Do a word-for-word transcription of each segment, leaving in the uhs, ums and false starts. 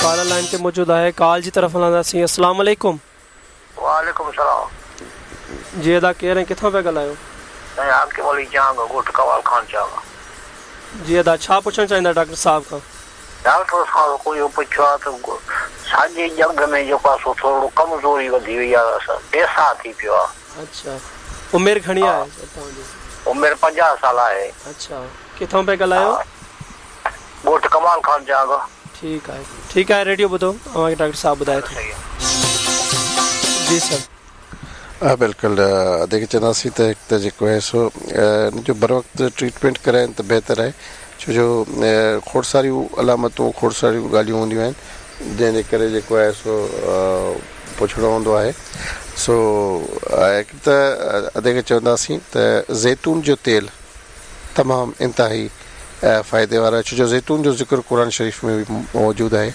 Caller line ते मौजूद आहे, कॉल जी तरफ़ हलंदासीं। अस्सलाम वालेकुम। वालेकुम सलाम। जी अदा केरु ऐं किथां पिया ॻाल्हायो? साईं हाकिम अली चांग, ॻोठु कवाल खान चांग। जी अदा, छा पुछणु चाहींदा डॉक्टर साहब खां? डॉक्टर साहब को इहो पुछियो आहे त साॼे ॼंग में जेको आहे सो थोरो कमज़ोरी वधी वई आहे, पैसा थी पियो आहे। अच्छा, उमिरि घणी आहे तव्हांजी? उमिरि पंजाह साल आहे। अच्छा, किथां पिया ॻाल्हायो? ॻोठु कमाल खान चांग। ठीकु आहे, ठीकु आहे, रेडियो ॿुधो, तव्हांखे डॉक्टर साहब ॿुधाए थो। जी सर। हा बिल्कुलु, अदे चवंदासीं त हिकु त जेको आहे सो इन जो बर वक़्तु ट्रीटमेंट कराइनि त बहितर आहे, छो जो खोड़ सारियूं अलामतूं, खोड़ सारियूं ॻाल्हियूं हूंदियूं आहिनि जंहिंजे करे जेको आहे सो पुछणो हूंदो आहे। सो हिकु त अदे खे चवंदासीं त ज़ैतून जो तेल तमामु इंतिहाई फ़ाइदे वारो आहे, छो जो ज़ैतून जो ज़िक्र क़ुरान शरीफ़ में बि मौजूदु आहे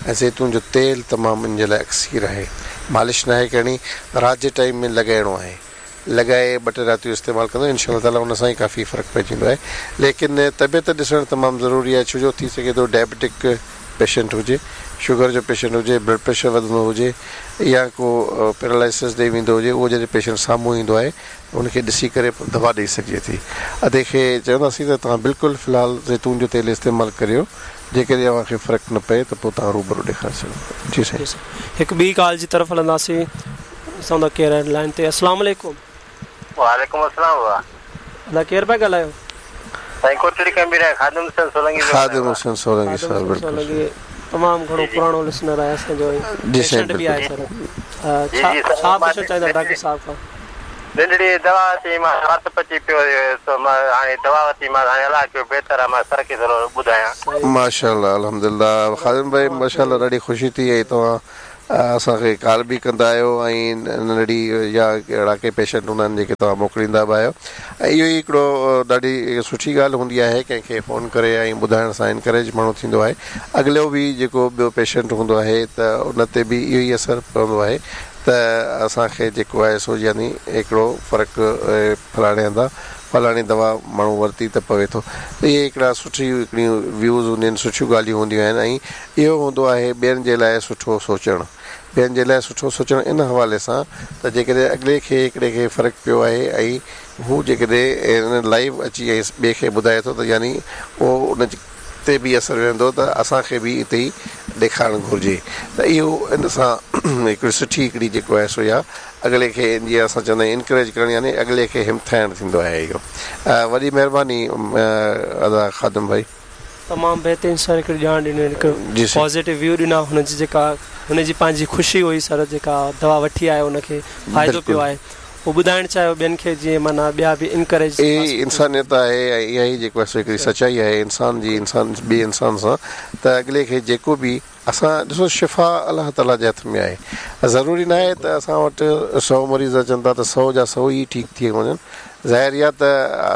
ऐं ज़ैतून जो तेल तमामु इन जे लाइ अक्सीर आहे। मालिश न आहे करणी, राति जे टाइम में लॻाइणो आहे, लॻाए ॿ टे रातियूं इस्तेमालु कंदो इनशा ताला उन सां ई काफ़ी फ़र्क़ु पइजी वेंदो आहे। लेकिन तबियत ॾिसणु तमामु ज़रूरी आहे, छो जो थी सघे थो डायबिटिक पेशेंट हुजे, शुगर जो पेशेंट हुजे, ब्लड प्रेशर वधंदो हुजे या को पैरालाइसिस ॾेई वेंदो हुजे, उहो जॾहिं पेशेंट साम्हूं ईंदो आहे उनखे ॾिसी करे दवा ॾेई सघिजे थी। अदे खे चवंदासीं त तव्हां बिल्कुलु फ़िलहालु ज़ैतून जो तेल इस्तेमालु करियो, जेकॾहिं तव्हांखे फ़र्क़ु न पए त पोइ तव्हां रूबरू ॾेखारे सघो। जी साईं। हिकु ॿी कॉल जी तरफ़ हलंदासीं, ॾिसूं था केरु आहे लाइन ते। अस्सलाम वालेकुम। वालेकुम अस्सलाम। अदा केरु पिया ॻाल्हायो? साईं कोटड़ी कंबीर आहे, खादिम हुसैन सोलंगी। खादिम हुसैन सोलंगी साहब, बिल्कुलु तमामु घणो पुराणो लिसनर आहे असांजो, पेशेंट बि आहे सर। छा छा पुछणु चाहींदा डॉक्टर साहब खां? नंढड़ी दवा वरिती मां, राति पची पियो त मां हाणे दवा वरिती मां, हाणे अलाह कयो बहितर आहे, मां सर खे थोरो ॿुधायां। माशाअल्लाह, अल्हम्दुलिल्लाह। खादिम भाई माशाअल्लाह ॾाढी ख़ुशी थी ऐं तव्हां असांखे कॉल बि कंदा आहियो ऐं नंढड़ी या अहिड़ा के पेशेंट हूंदा आहिनि जेके तव्हां मोकिलींदा बि आहियो ऐं इहो ई हिकिड़ो ॾाढी सुठी ॻाल्हि हूंदी आहे कंहिंखे फ़ोन करे ऐं ॿुधाइण सां इनकरेज माण्हू थींदो आहे। अॻिलो बि जेको ॿियो पेशेंट हूंदो आहे त उन ते बि इहो ई असरु पवंदो आहे त असांखे जेको आहे सो यानी हिकिड़ो फ़र्क़ु फलाणे हंधां फलाणी दवा माण्हू वरिती त पवे थो। त इहे हिकिड़ा सुठी हिकिड़ियूं व्यूज़ हूंदियूं आहिनि, सुठियूं ॻाल्हियूं हूंदियूं आहिनि ऐं इहो हूंदो आहे ॿियनि जे लाइ सुठो सोचणु, ॿियनि जे लाइ सुठो सोचणु इन हवाले सां त जेकॾहिं अॻिले खे हिकिड़े खे फ़र्क़ु पियो आहे ऐं हू जेकॾहिं लाइव अची ऐं ॿिए खे ॿुधाए थो त यानी उहो उन ते बि असरु वेंदो त असांखे बि हिते ई ॾेखारणु घुरिजे। त इहो इन सां हिकिड़ी सुठी हिकिड़ी जेको आहे सो इहा अॻिले खे जीअं असां चवंदा आहियूं इनकरेज करणु यानी अॻिले खे हिमथाइणु थींदो आहे इहो। वॾी महिरबानी अदा ख़ादिम भाई, तमामु बहितरीन सर हिकिड़ी ॼाण ॾिनी, हिकु पॉज़िटिव व्यू ॾिना। हुनजी जेका हुनजी पंहिंजी ख़ुशी हुई सर, जेका दवा वठी आयो हुनखे फ़ाइदो पियो आहे, उहो ॿुधाइणु चाहियो ॿियनि खे जीअं माना ॿिया बि इनकरेज। इहा इंसानियत आहे ऐं इहा ई जेको आहे सो हिकिड़ी सचाई आहे इंसान जी इंसान ॿिए इंसान सां त अॻिले खे जेको बि असां ॾिसो शिफ़ा अलाह ताला जे हथ में आहे। ज़रूरी न आहे त असां वटि सौ मरीज़ अचनि था त सौ जा सौ ई ठीकु थी वञनि। ज़ाहिर इहा त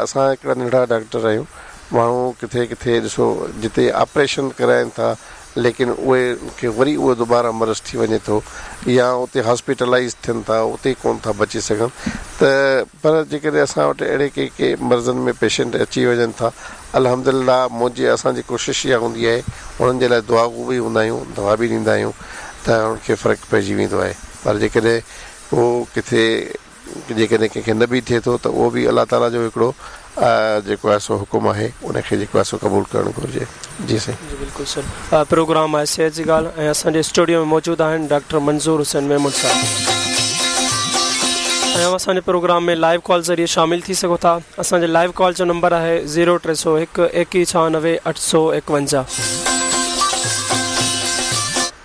असां हिकिड़ा नंढा डॉक्टर आहियूं, माण्हू किथे किथे ॾिसो जिते ऑपरेशन कराइनि था लेकिन उहे खे वरी उहो दोबारा मर्ज़ थी वञे थो या उते हॉस्पिटलाइज़ थियनि था, उते कोन था बची सघनि। त पर जेकॾहिं असां वटि अहिड़े के के मर्ज़नि में पेशेंट अची वञनि था, अल्हम्दुलिल्लाह मुंहिंजी असांजी कोशिशि इहा हूंदी आहे उन्हनि जे लाइ दुआ बि हूंदा आहियूं, दवा बि ॾींदा आहियूं त उनखे फ़र्क़ु पइजी वेंदो आहे। पर जेकॾहिं उहो किथे जेकॾहिं कंहिंखे न बि थिए थो त उहो बि अलाह ताला जो हिकिड़ो जेको आहे सो हुकुम आहे, उनखे जेको आहे सो क़बूल करणु घुरिजे। जी साईं। जी बिल्कुलु सर। प्रोग्राम आहे सिहत जी ॻाल्हि ऐं असांजे स्टूडियो में मौजूदु आहिनि डॉक्टर मंज़ूर हुसैन मेमण साहिबु ऐं असांजे प्रोग्राम में लाइव कॉल ज़रिए शामिल थी सघो था। असांजे लाइव कॉल जो नंबर आहे ज़ीरो टे सौ हिकु एकवीह छहानवे अठ सौ एकवंजाह।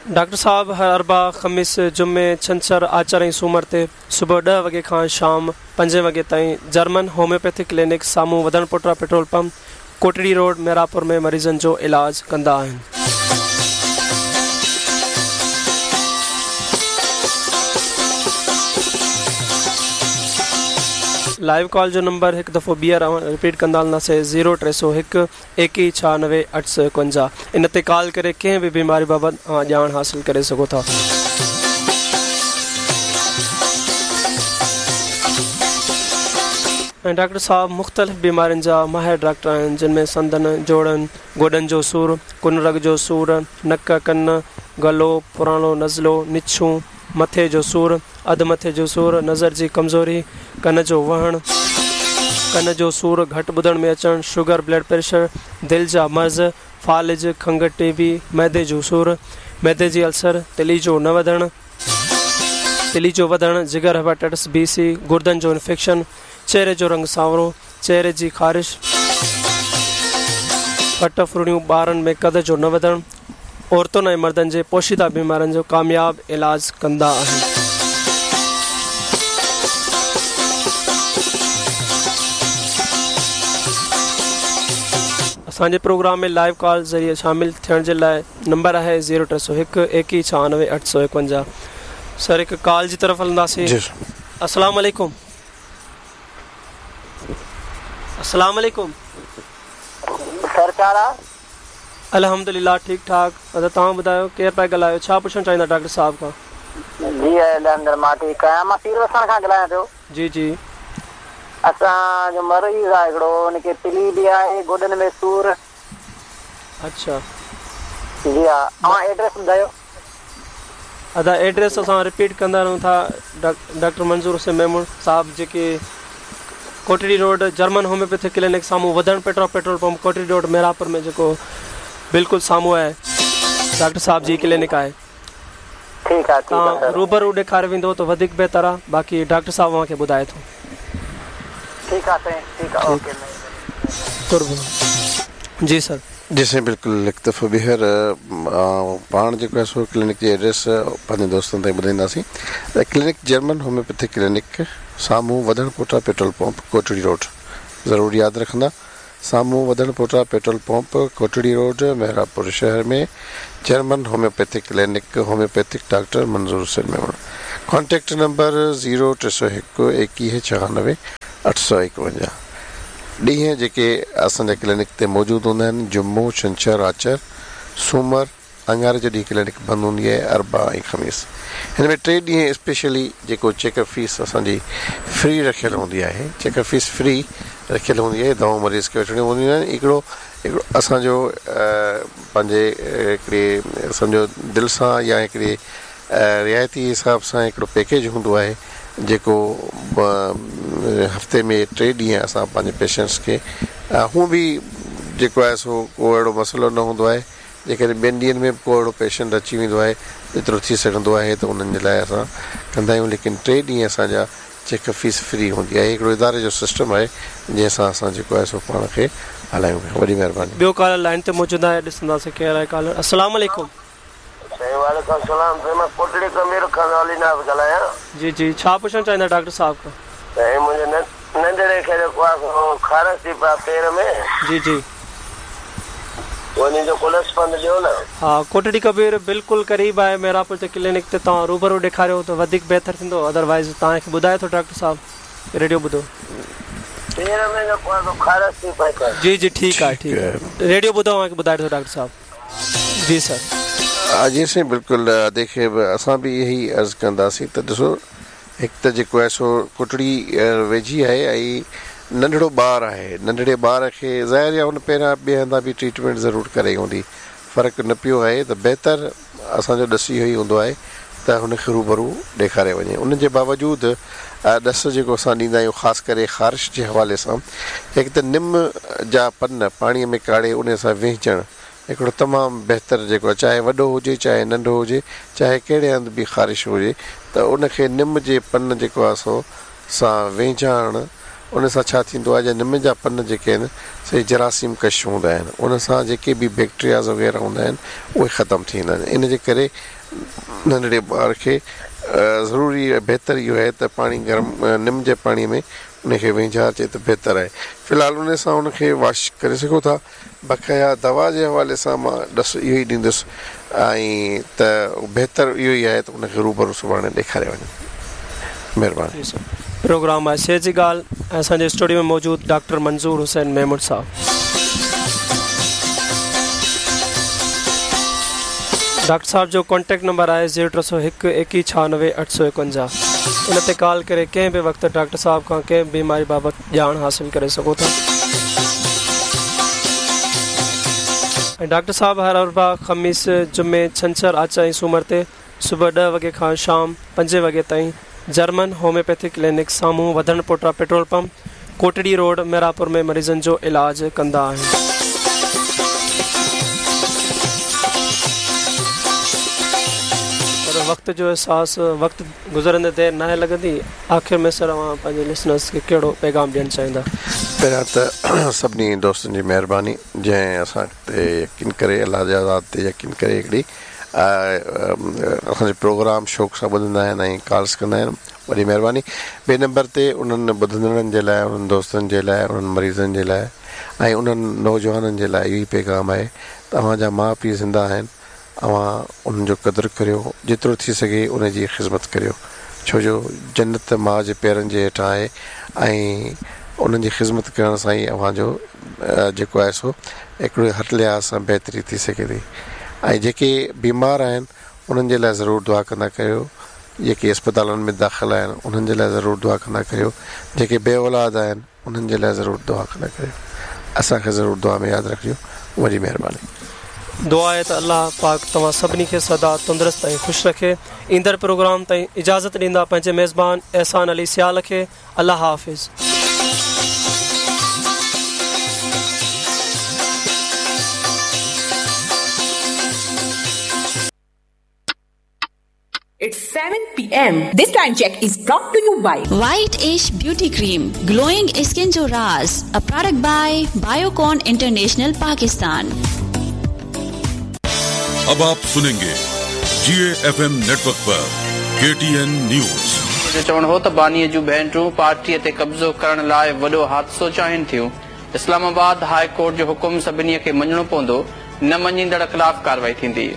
डॉक्टर साहब हर अरबा, ख़मीस, जुमे, छंछर, आचर ऐं सूमर ते सुबुह ॾह वॻे खां शाम पंजे वॻे ताईं जर्मन होम्योपैथिक क्लिनिक साम्हूं वधण पोटरा petrol pump, Kotri road, Mehrapur में मरीज़नि जो इलाज कंदा आहिनि। लाइव कॉल जो नंबर हिकु दफ़ो ॿीहर रिपीट कंदा हलंदासीं ज़ीरो टे सौ हिकु एकवीह छहानवे अठ सौ एकवंजाह। इन ते कॉल करे कंहिं बि बीमारी बाबति ॼाण हासिल करे सघो था। ۽ ڊاڪٽر صاحب مختلف بيمارين جا ماهر ڊاڪٽر آهن، جن ۾ سنڌن، جوڙن، گوڏن جو سور، ڪن رڳ جو سور، نڪ، ڪن، گلو، پراڻو نزلو، نڇون، مٿي جو سور، اڌ مٿي جو سور، نظر جي ڪمزوري، ڪن جو وهڻ، ڪن جو سور، گهٽ ٻڌڻ ۾ اچڻ، شگر، بلڊ پريشر، دل جا مرض، فالج، کنگهه، ٽي بي، معدي جو سور، معدي جي السر، تلي جو نه وڌڻ، تلي جو وڌڻ، جگر، هيپاٽائٽس بي، سي، گردن جو انفيڪشن، چهري جو رنگ سانورو، چهري جي خارش، ڦٽ ڦرڙيون، ٻارن ۾ قد جو نه وڌڻ، عورتن ۽ مردن جي پوشيده بيمارين جو ڪامياب علاج ڪندا آهن. اسان جي پروگرام ۾ لائيو ڪال ذريعي شامل ٿيڻ جي لاء نمبر آهي زيرو ٽي سؤ هڪ ايڪيهه ڇهانوي اٺ سؤ ايڪونجاهه. سر هڪ ڪال جي طرف هلنداسين. جي السلام عليڪم. السلام عليڪم. سر ڇا الحمدلله ٺيڪ ٺاڪ. ادا توهان ٻڌايو، ڪير پيا ڳالهايو، ڇا پڇڻ چاهيندا ڊاڪٽر صاحب کان؟ جي الحمدلله مان ٺيڪ آهيان. مان پير وسڻ کان ڳالهايان پيو. جي جي. اسان جو مريض آهي هڪڙو، هن کي تلي به آهي، گوڏن ۾ سور. اڇا. جي ها، توهان ايڊريس ٻڌايو. ادا ايڊريس اسان رپيٽ ڪندا رهون ٿا. ڊاڪٽر منظور حسين ميمڻ صاحب جيڪي Kotri road German homeopathic clinic سامهون وڌڻ petrol petrol pump Kotri road Mirapur ۾ جيڪو بلڪل سامهون آهي، ڊاڪٽر صاحب جي ڪلينڪ آهي. ٺيڪ آهي. توهان روبرو ڏيکاري ويندو ته وڌيڪ بهتر آهي، باقي ڊاڪٽر صاحب اوهان کي ٻڌائي ٿو. ٺيڪ آهي سائين، ٺيڪ آهي، اوڪي. قرب. جي سر. جي سائين بلڪل. هڪ دفعو ٻيهر پاڻ جيڪو آهي سو ڪلينڪ جي ايڊريس پنهنجي دوستن تائين ٻڌائينداسين. ڪلينڪ جرمن هوميوپيٿڪ ڪلينڪ، سامهون وڌڻ پوٽا پيٽرول پمپ، ڪوٽڙي روڊ. ضرور ياد رکندا، سامهون وڌڻ پوٽا petrol pump, Kotri road, Mehrapur شهر ۾ German homeopathic clinic, homeopathic doctor Manzoor Hussain Memon. Contact number zero ٽي سؤ هڪ ايڪويهه ڇهانوي اٺ سؤ ايڪونجاهه. ڏينهن جيڪي اسان جا ڪلينڪ تي موجود هوندا آهن، جمعو، ڇنڇر، آچر، سومر، اڱاري جو ڏينهن ڪلينڪ بند هوندي آهي، اربع ۽ خميس. هن ۾ ٽي ڏينهن اسپيشلي جيڪو چيڪ اپ فيس اسان جي فري رکيل هوندي آهي، چيڪ اپ فيس فري رکيل هوندي آهي، دوائون مريض کي وٺڻيون هونديون آهن. هڪڙو هڪڙو اسان جو پنهنجي هڪڙي سمجهو دل سان يا هڪڙي رعايتي حساب سان هڪڙو پيڪيج هوندو آهي، جيڪو هفتي ۾ ٽي ڏينهن اسان پنهنجي پيشنٽس کي هونئن به جيڪو آهي سو ڪو اهڙو مسئلو نه هوندو آهي. جيڪڏهن ٻين ڏينهن ۾ به ڪو اهڙو پيشنٽ اچي ويندو آهي، جيترو ٿي سگهندو آهي ته انهن جي لاءِ اسان ڪندا آهيون، ليڪن ٽي ڏينهن اسان جا چيڪ اپ فيس فري هوندي آهي. هڪڙو اداري جو سسٽم آهي جنهن سان اسان جيڪو آهي سو پاڻ کي هلايون پيا. وڏي مهرباني. ٻيو ڪالر لائن تي موجود آهي، ڏسنداسين ڪير آهي ڪالر. السلام عليڪم. سائين وعليڪم السلام. سائين مان ڪوٽڙي ڪبير کان علي ناز ڳالهايان. جي جي، ڇا پڇڻ چاهيندا ڊاڪٽر صاحب کان؟ سائين منهنجي ننڍڙي کي جيڪو آهي سو خارش ٿي پيا پير ۾. جي جي. ان جو ڪو ڏس پنڌ ڏيو نه. ها، ڪوٽڙي ڪبير بلڪل قريب آهي ميراپور جي ڪلينڪ تي، توهان روبرو ڏيکاريو ته وڌيڪ بهتر ٿيندو، ادروائز توهان کي ٻڌائي ٿو ڊاڪٽر صاحب. ريڊيو ٻڌو. پير ۾ جيڪو آهي سو خارش ٿي پئي. جي جي ٺيڪ آهي، ٺيڪ آهي، ريڊيو ٻڌو، اوهان کي ٻڌائي ٿو ڊاڪٽر صاحب. جي سر. جي سائين بلڪل. ادي کي به اسان به اهي ئي عرض ڪنداسين ته ڏسو، هڪ ته جيڪو آهي سو ڪوٽڙي ويجهي آهي ۽ ننڍڙو ٻار آهي. ننڍڙي ٻار کي ظاهر آهي هن پهريان ٻئي هنڌان به ٽريٽمينٽ ضرور ڪرائي هوندي، فرق نه پيو آهي، ته بهتر اسان جو ڏس اهو ئي هوندو آهي ته هن کي روبرو ڏيکاري وڃي. ان جي باوجود ڏس جيڪو اسان ڏيندا آهيون، خاص ڪري خارش جي حوالي سان، هڪ ته نم جا پن پاڻيءَ ۾ ڪاڙهي ان سان وهنجڻ هڪڙو تمام بهتر جيڪو آهي، چاهي وڏو هجي، چاهي ننڍو هجي، چاهي ڪهڙي هنڌ به خارش هجي، ته ان کي نم جي پن جيڪو آهي سو سان وهنجائڻ، ان سان ڇا ٿيندو آهي، جا نم جا پن جيڪي آهن سي جراثيم ڪش هوندا آهن، ان سان جيڪي به بيڪٽيرياز وغيره هوندا آهن اهي ختم ٿي ويندا آهن. ان جي ڪري ننڍڙي ٻار کي ضروري بهتر اهو آهي ته پاڻي گرم نم جي پاڻيءَ ۾ ان کي وهنجارجي ته بهتر آهي. في الحال ان سان ان کي واش ڪري سگهو ٿا. بقايا دوا جي حوالي سان مان ڏس اهو ئي ڏيندس ۽ ته بهتر اهو ئي آهي ته ان کي روبرو سڀاڻي ڏيکاري وڃي. مهرباني. پروگرام آهي صحت جي ڳالهه ۽ اسان جي اسٽوڊيو ۾ موجود ڊاڪٽر منظور حسين ميمڻ صاحب. डॉक्टर साहब जो कॉन्टैक्ट नंबर आहे ज़ीरो टे सौ हिकु एकवीह छहानवे अठ सौ एकवंजाह। इन ते कॉल करे कंहिं बि वक़्तु डॉक्टर साहब खां कंहिं बि बीमारी बाबति ॼाण हासिल करे सघो था। ऐं डॉक्टर साहब हर अरबा, ख़मीस, जुमे, छंछर, आचर ऐं सूमर ते सुबुह ॾह वॻे खां शाम पंजे वॻे ताईं जर्मन होम्योपैथिक क्लिनिक साम्हूं Wadhan Pota petrol pump, Kotri road, Mehrapur में मरीज़नि जो इलाज कंदा आहिनि। पर वक़्त जो अहसास वक़्तु गुज़रंदे देरि नाहे लॻंदी। आख़िर में सर अव्हां पंहिंजे लिसनर्स खे कहिड़ो पैगाम ॾियणु चाहींदा? पहिरियां त सभिनी दोस्तनि जी महिरबानी जंहिं असां ते यकीन करे, अलाह जे आज़ाद ते यकीन करे हिकिड़ी असांजो प्रोग्राम शौक़ सां ॿुधंदा आहिनि ऐं कॉल्स कंदा आहिनि, वॾी महिरबानी। ॿिए नंबर ते उन्हनि ॿुधंदड़नि जे लाइ, उन्हनि दोस्तनि जे लाइ, उन्हनि मरीज़नि जे लाइ ऐं उन्हनि नौजवाननि जे लाइ इहो ई पैगाम आहे त अव्हांजा माउ पीउ ज़िंदा आहिनि, अव्हां उन्हनि जो क़दुरु करियो, जेतिरो थी सघे उन जी ख़िदमत करियो, छो जो जन्नत माउ जे पेरनि जे हेठां आहे ऐं उन्हनि जी ख़िदमत करण सां ई अव्हांजो जेको आहे सो हिकिड़ो हर लिहाज़ सां बहितरी थी सघे थी। ऐं जेके बीमार आहिनि उन्हनि जे लाइ ज़रूरु दुआ कंदा करियो, जेके अस्पतालनि में दाख़िल आहिनि उन्हनि जे लाइ ज़रूरु दुआ कंदा करियो, जेके बे औलाद आहिनि उन्हनि जे लाइ ज़रूरु दुआ कंदा करियो। असांखे ज़रूरु दुआ में यादि रखिजो। वॾी महिरबानी। दुआ आहे त अलाह पाक तव्हां सभिनी खे सदा तंदुरुस्त ऐं ख़ुशि रखे। ईंदड़ प्रोग्राम ताईं इजाज़त ॾींदा पंहिंजे मेज़बान एहसान अली सियाल खे। अलाह हाफ़िज़। It's seven P M. This time check is brought to you by White Ash Beauty Cream, Glowing Skin Jo Raaz, a product by Biocon International Pakistan. अब आप सुनेंगे G A F M network पर के T N news. जो चवणु हो त बानीअ जूं भेनरूं पार्टीअ ते कब्ज़ो करण लाइ वॾो हादिसो चाहिनि थियूं। इस्लामाबाद हाई कोर्ट जो हुकुम सभिनी खे मञणो पवंदो, न मञींदड़ ख़िलाफ़ कार्रवाई थींदी।